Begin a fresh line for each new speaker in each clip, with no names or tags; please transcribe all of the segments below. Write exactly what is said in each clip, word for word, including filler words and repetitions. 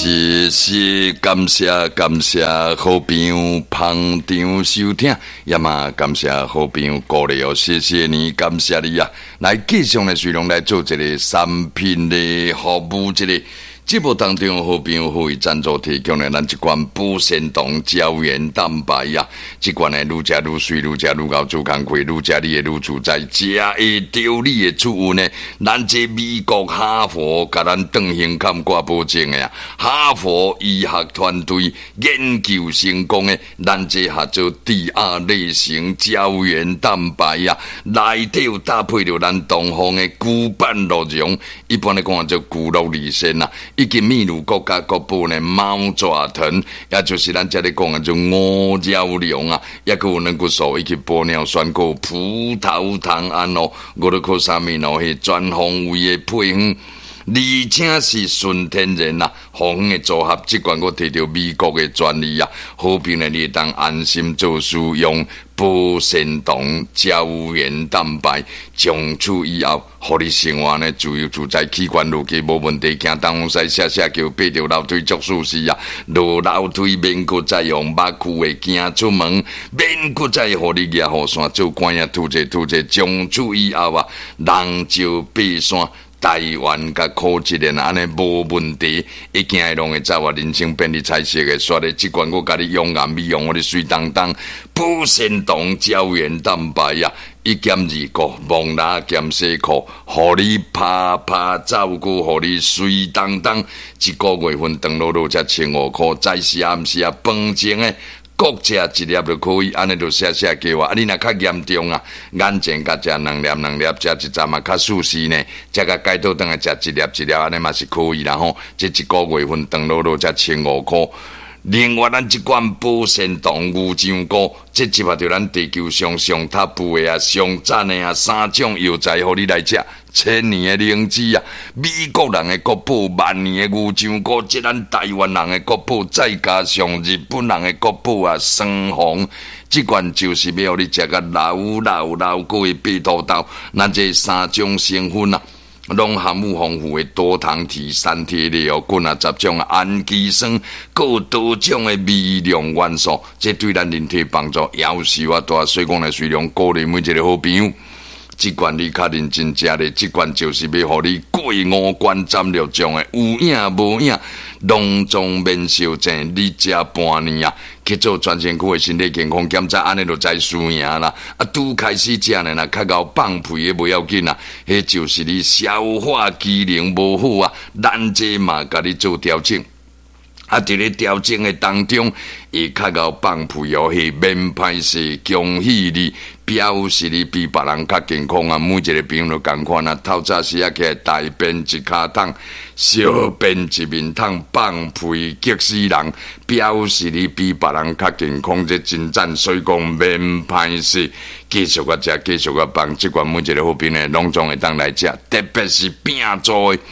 謝謝感謝感謝好朋友捧場收聽，也嘛感謝好朋友鼓勵哦，謝謝你，感謝你啊！來繼續呢，隨龍來做一個產品的服務，這個節目當中，好朋友會贊助提供的咱這款保鮮糖膠原蛋白啊，這款呢，愈食愈媠，愈食愈𠢕做工課，愈食你會愈自在，食會著你的出運呢。咱這美國哈佛共咱斷胸坎掛保證的啊，哈佛醫學團隊研究成功的，咱這合做第二類型膠原蛋白啊，內底有搭配著咱東方的古板鹿茸，一般來講叫古鹿乳仙啊。以及秘魯國家國寶呢貓爪藤，也就是咱這裡講的做五角龍啊，抑閣有軟骨素以及玻尿酸，閣有葡萄糖胺哦，五氯克沙米哦，彼全方位的配方，而且是純天然啊，方的組合，這款閣提著美國的專利啊，好朋友你會當安心做使用。保鮮糖膠原蛋白，從此以後，予你生活呢自由自在，器官落去無問題，行東西寫寫叫爬著樓梯足舒適啊！落樓梯免閣再用目睭的行出門，免閣再予你舉雨傘做官仔拄者拄者，從此以後啊，人少爬山。台灣佮苦一年按呢無問題，一行會攏會走啊！人生變得彩色的，煞咧這款閣共你養顏美容，予你媠當當，保鮮糖膠原蛋白啊，一減二顧，摸蜊兼洗褲，予你拍拍走，閣予你媠當當，一個月份長落落才千五箍，早時暗時啊，飯前的。各食一粒就可以，按呢就寫寫計劃。啊，你若較嚴重啊，眼前共食兩粒兩粒，食一陣嘛較舒適呢。食甲解倒轉來食一粒一粒，按呢嘛是可以啦吼。這一個月份長落落才千五箍。另外，咱這款保鮮糖牛樟菇，這集合著咱地球上上塔布的啊、上讚的啊三種藥材，予你來食。千年的靈芝啊，美國人的國寶，萬年的牛樟菇，這咱台灣人的國寶，再加上日本人的國寶啊，雙紅，這款就是欲予你食甲老老老閣會爬土豆。咱這三種成分啊，攏含有豐富的多糖體、三萜類哦，菌啊十種氨基酸，閣有多種的微量元素，這對咱人體幫助夭壽啊大。所以講呢，隨量鼓勵每一個好朋友。這款你較認真食咧，這款就是欲予你過五關斬六將的，有影無影，攏總免相爭。你食半年啊，去做全身軀的身體健康檢查，按呢就知輸贏啦。啊，拄開始食呢，若較𠢕放屁的無要緊啊，彼就是你消化機能無好啊，咱這嘛共你做調整。啊，佇咧調整的當中，會較𠢕放屁哦，彼免歹勢，恭喜你，表示你比別人較健康啊！每一個朋友都仝款啊，透早時啊起來大便一跤桶，小便一面桶，放屁激死人，表示你比別人較健康，這真讚，所以講免歹勢，繼續共食，繼續共放，這款每一個好朋友攏總會當來食，特別是拼做的。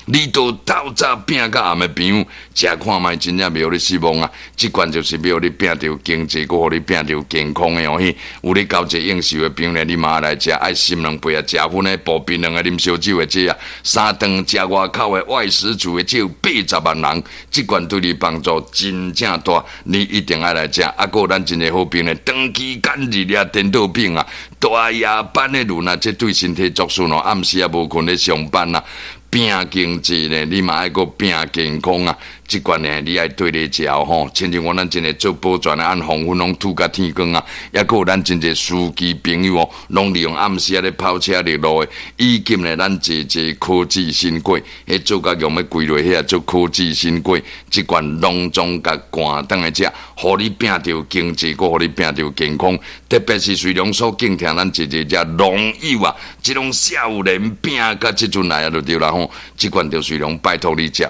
你都透早拼到暗的朋友，食看覓真正袂予你失望啊！這款就是欲予你拼著經濟，閣予你拼著健康的哦。彼有咧交際應酬的朋友，你嘛來食，愛心兩杯啊，食薰的步檳榔的啉燒酒的這啊，三頓食外口的外食族的這有八十萬人，這款對你幫助真正大，你一定愛來食。啊，閣有咱真濟好朋友，長期間日掠顛倒病啊，大夜班的人啊，這對身體作損哦，暗時也無睏咧上班啊。拼經濟呢，你嘛愛閣拼健康啊！這款呢，你愛對咧食吼。親像講咱真濟做保全的，按黃昏攏吐甲天光啊！抑閣有咱真濟司機朋友哦，攏利用暗時仔咧跑車入路的，以及呢，咱濟濟科技新貴，彼做甲用欲歸落遐做科技新貴，這款攏總共趕轉來食，予你拼著經濟，閣予你拼著健康。特別是隨量所敬聽咱濟濟遮農友啊，這種少年拼甲這陣來啊，就對啦吼。這款就隨量拜託你食。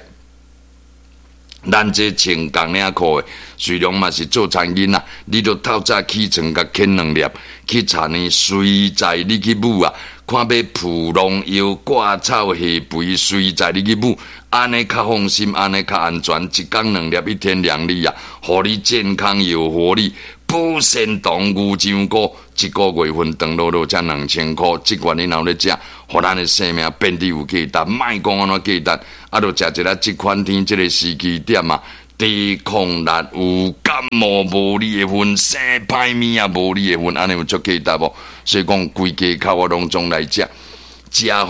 咱這穿工領褲的，雖然嘛是做餐飲啊，你著透早起床共啃兩粒，去查呢隨在你去舞啊，看欲撲農藥、割草、下肥，隨在你去舞，按呢較放心，按呢較安全。一工兩粒，一天兩粒啊，予你健康又活力。保鮮糖牛樟菇，一個月份長落落才兩千箍，這款你若有咧食，予咱的生命變得有價值。莫講按怎價值，啊，就食一下這款天這个時機點啊，抵抗力有，感冒無你的份，生歹物也無你的份，按呢有足價值無？所以講規家口我攏總來食，食予下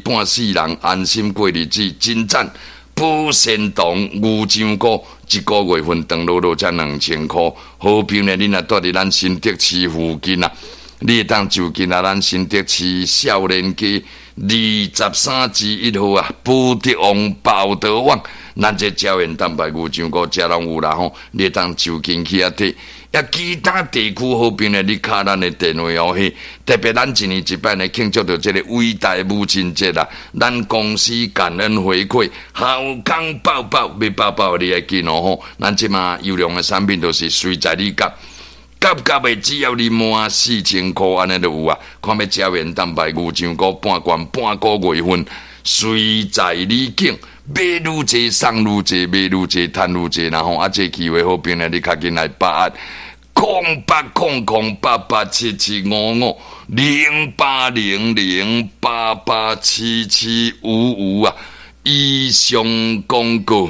半世人安心過日子，真讚！保鮮糖牛樟菇一个月份長落落才兩千箍，好朋友，恁若蹛佇咱新竹市附近啊，你會當就近啊，咱新竹市少年街二十三之一號啊，寶德旺寶德旺，咱這膠原蛋白牛樟菇遮攏有啦吼，你會當就近去遐提。啊，其他地區好朋友，你敲咱的電話哦，嘿，特別咱一年一擺呢慶祝著這個偉大母親節啦，咱公司感恩回饋，好康報報，欲報報你愛緊哦吼，咱這馬優良的產品都是隨在你夾。夾夾的，只要你滿四千箍，按呢就有啊。看欲膠原蛋白牛樟菇半罐半個月份，隨在你揀，買愈濟送愈濟，買愈濟趁愈濟，然後啊，這機會好朋友，你較緊來把握。空八空空八八七七五五零八零零八八七七五五啊！以上廣告。